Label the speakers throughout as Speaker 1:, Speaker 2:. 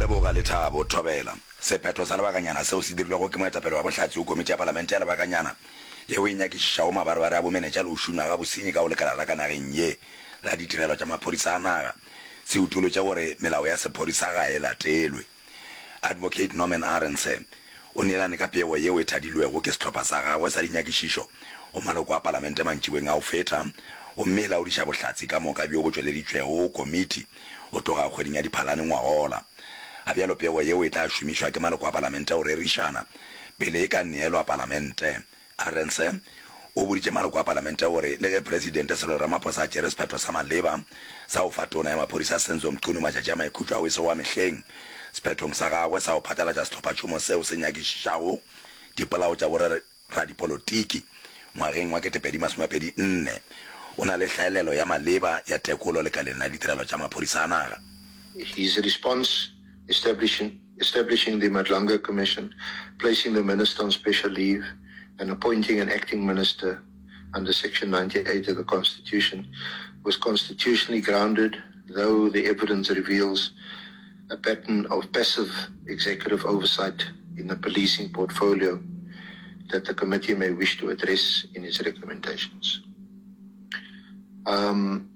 Speaker 1: leboga, Lethabo Thobela. Sephetho sa lebakanyana seo se dirilwego ke moetapele wa bohlatse go komiti ya palamente ya lebakanyana yeo e nyakišišago mabarebare a bomenetša le go šunywa ga bosenyi ka go lekala la ka nageng ye la ditirelo tša maphodisa a naga se utolotše gore melao ya sephodisa ga e latelwe. Advocate Norman Arendse o neelane ka pego yeo e thadilwego ke sehlopha sa gagwe sa dinyakišišo go maloko a palamente mantšiboeng a go feta gomme e laodiša bohlatse ka moka bjo bo tšweleditšwego go komiti go tloga kgweding ya Diphalane ngwagola. Ga bjalo pego yeo e tla šomišwa ke maloko a palamente go rerišana pele e ka neelwa palamente. Arendse o boditše maloko a palamente gore le ge Presidente Cyril Ramaphosa a tšere sephetho sa maleba sa go fa Tona ya Maphodisa Senzo Mchunu matšatši a maikhutšo ao e sego a mehleng sephethong sa gagwe sa go phatlalatša sehlophatšhomo seo se nyakišišago dipolao tša boradipolotiki ngwageng wa 2024, o na le hlaelelo ya maleba ya tekolo lekaleng la ditirelo tša maphodisa a naga.
Speaker 2: His response establishing establishing the Madlanga Commission, placing the minister on special leave and appointing an acting minister under Section 98 of the Constitution was constitutionally grounded, though the evidence reveals a pattern of passive executive oversight in the policing portfolio that the committee may wish to address in its recommendations. Um,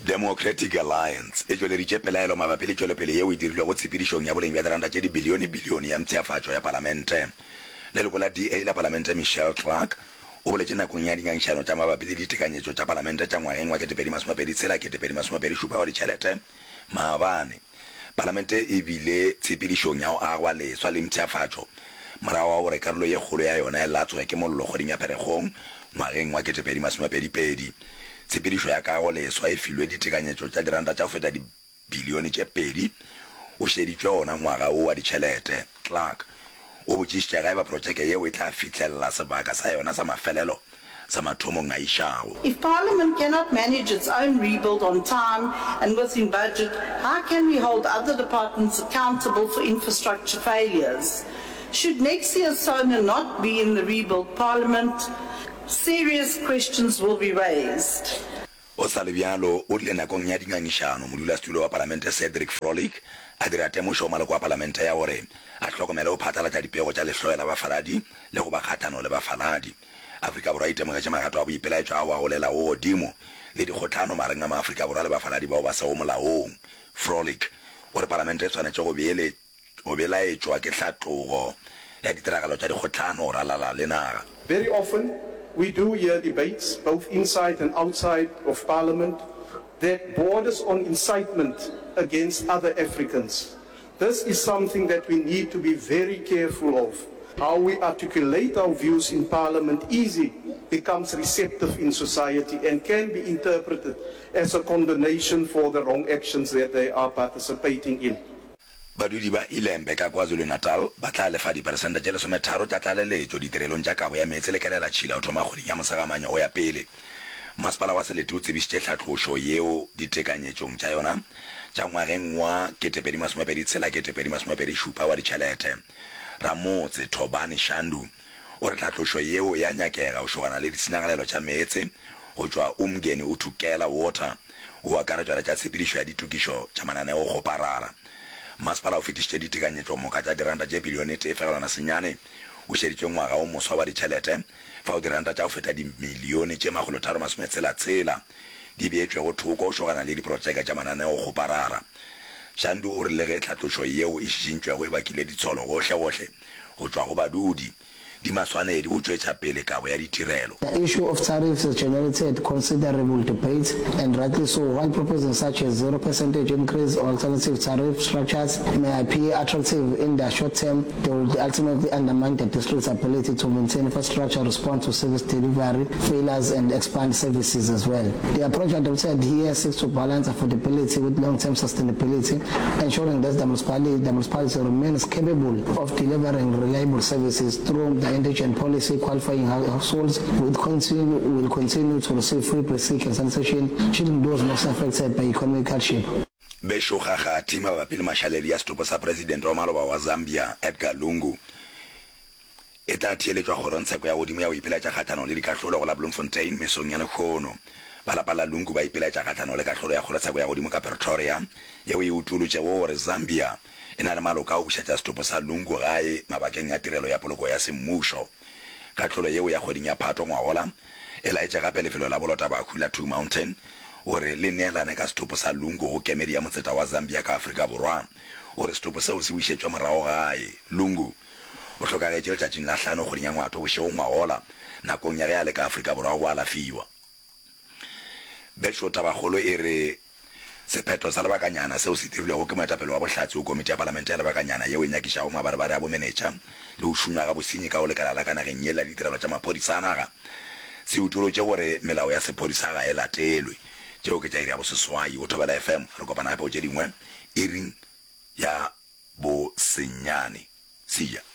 Speaker 1: Democratic Alliance e tšweleditše pelaelo mabapi le tšwelopele yeo e dirilwego tshepedišong ya boleng bja diranta tše dibilione-bilione ya mpshafatšo ya palamente. Leloko la DA la palamente Michelle Clark o boletše nakong ya dingangišano tša mabapi le ditekanyetšo tša palamente tša ngwageng wa 2026 2027 wa ditšhelete Maabane, Palamente e bile tshepedišong ya go agwa leswa le mpshafatšo morago ga gore karolo ye kgolo ya yona e latswe ke mollo kgweding ya Pherekgong ngwageng wa 2022. Tshepedišo ya kago leswa e filwe ditekanyetšo tša diranta tša go feta dibilione tše pedi o šeditšwe ona ngwaga wo wa ditšhelete. Clark o botšišitše ge eba protšeke yeo e tla fihlelela sebaka sa yona sa mafelelo sa mathomong a išago.
Speaker 3: If Parliament cannot manage its own rebuild on time and within budget, how can we hold other departments accountable for infrastructure failures? Should next year's SONA not be in the rebuilt Parliament, serious questions will be raised.
Speaker 1: Go sa le bjalo, o rile nakong ya dingangišano, modulasetulo wa Palamente Cedric Frolick a dira temošo go maloko a Palamente ya gore a hlokomele go phatlalatša dipego tša lehloyo la bafaladi le go ba kgahlano le bafaladi. Afrika Borwa e itemogetše magato a boipelaetšo ao a golelago godimo le dikgohlano magareng a maAfrika Borwa le bafaladi bao ba sego molaong. Frolick o re Palamente e swanetše go go belaetšwa ke hlatlogo ya ditiragalo tša dikgohlano go ralala le naga.
Speaker 4: Very often we do hear debates both inside and outside of parliament that borders on incitement against other Africans. This is something that we need to be very careful of. How we articulate our views in parliament easy becomes receptive in society and can be interpreted as a condonation for the wrong actions that they are participating in.
Speaker 1: Badudi ba Ilembe ka KwaZulu-Natal ba tla lefa diperesente tše lesometharo tša tlaleletšo ditirelong tša kabo ya meetse le kelelatšhila go thoma kgweding ya Mosegamanye go ya pele. Masepala wa selete o tsebišitše tlhatlošo yeo ditekanyetšong tša yona tša ngwageng wa 2026 2027 wa ditšhelete. Ramotse Thobani Shandu O re tlhatlošo yeo e a nyakega go šogana le ditshenyagalelo tša meetse go tšwa Umgeni uThukela Water, go akaretšwa le tša tshepedišo ya ditokišo tša mananeokgoparara. Masepala o fetišitše ditekanyetšomoka tša diranta tše bilione tee fegelwana senyane o šeditše ngwaga o moswa wa ditšhelete fao diranta tša go feta dimilione tše makgolotharo masometshela tshela di beetšwego thoko go šogana le diprotšeke tša mananeokgoparara. Shandu o re le ge tlhatlošo yeo e šišintšwego e bakile ditsholo gohlegohle, go tšwa go badudi, di maswanedi go tšwetša pele kabo ya ditirelo.
Speaker 5: The issue of tariffs has generated considerable debate, and rightly so. While proposing such a zero percentage increase or alternative tariff structures may appear attractive in the short term, they will ultimately undermine the district's ability to maintain infrastructure, respond to service delivery failures, and expand services as well. The approach adopted here seeks to balance affordability with long-term sustainability, ensuring that the municipality, the municipality remains capable of delivering reliable services through the indigent policy. Qualifying households will continue, will continue to receive free basic and sanitation, shielding those most affected by economic hardship.
Speaker 1: Bešo Kgakgathi mabapi le mašaledi ya setopo sa Presidente wa maloba wa Zambia, Edgar Lungu, e tla theeletšwa kgorongtsheko ya godimo ya go ipilaetša kgahlanong le dikahlolo go la Bloemfontein mesong ya lehono. Ba lapa la Lungu ba ipilaetša kgahlanong le kahlolo ya kgorotsheko ya godimo ka Pretoria yeo e utolotšego gore Zambia e na le maloka a go bušetša setopo sa Lungu gae mabakeng a tirelo ya poloko ya semmušo. Kahlolo yeo ya kgweding ya Phato ngwagola e laetše gape lefelo la bolotabahu la Two Mountain gore le neelane ka setopo sa Lungu go kemedi ya motseta wa Zambia ka Afrika Borwa gore setopo seo se bušetšwe morago gae. Lungu o hlokagetše letšatšing la hlano kgweding ya Ngwato bošego ngwagola nakong ya ge a le ka Afrika Borwa go alafiwa. Bešo tabakgolo e re sephetho sa lebakanyana seo se dirilwego ke moetapele wa bohlatse go komiti ya palamente ya lebakanyana yeo e nyakišago mabarebare a bomenetša le go šunywa ga bosenyi ka go lekala la ka nageng ye la ditirelo tša maphodisa a naga se utolotše gore melao ya sephodisa ga e latelwe. Tšeo ke tša iri ya boseswai go Thobela FM. Re kopana gape go tše dingwe iring ya bosenyane. See ya.